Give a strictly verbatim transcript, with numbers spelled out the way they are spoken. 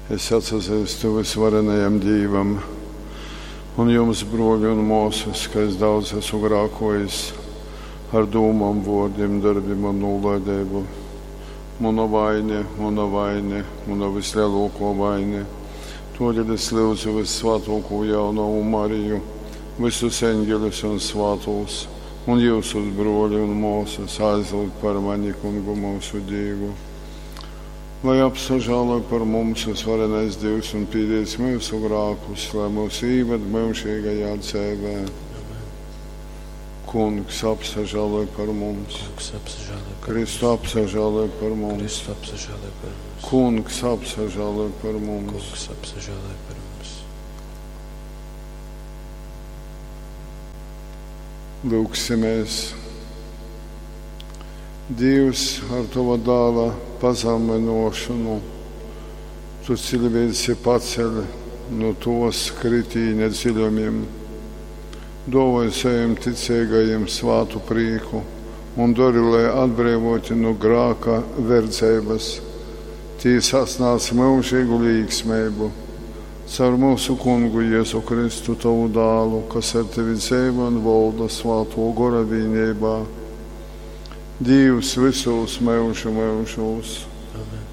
Es atsazeistu vysvarenajam Dīvam un jums, bruoli un muosys, ka es daudz asu grākuojis ar dūmom, vuordim, dorbim un nūlaideibu. Muna vaine, muna vaine, muna vysleluokuo vaine. Tuodeļ es lyudzu vyssvātuokū jaunovu Mariju, vysus eņgeļus un svātūs, un jiusus, bruoli un muosys, aizlyugt par mani Kungu myusu Dīvu. Lai apsažāloj par mums vysvarenais Dīvs un pīdīdz myusu grākus, lai mūs īved myužīgajā dzeivē. Amen. Kungs, apsažāloj par mums. Kungs, apsažāloj par Kristu, apsažāloj par mums. Kristu, apsažāloj par mums. Kungs, apsažāloj par mums. Kungs, apsažāloj par mums. Lūgsimies. Dīvs, ar Tova dāla pazamynuošonu Tu ciļvieci paceļ nu tuos kritīņa dziļumim. Duovoj sovim ticeigajim svātu prīku un dori, lai atbreivoti nu grāka verdzeibys, tī sasnādz myužeigu līksmeibu. Caur myusu Kungu Jezu Kristu, Tovu dālu, kas ar Tevi dzeivoj un volda Svātuo Gora vīneibā, Dīvs vysūs myužu myužūs. Amen.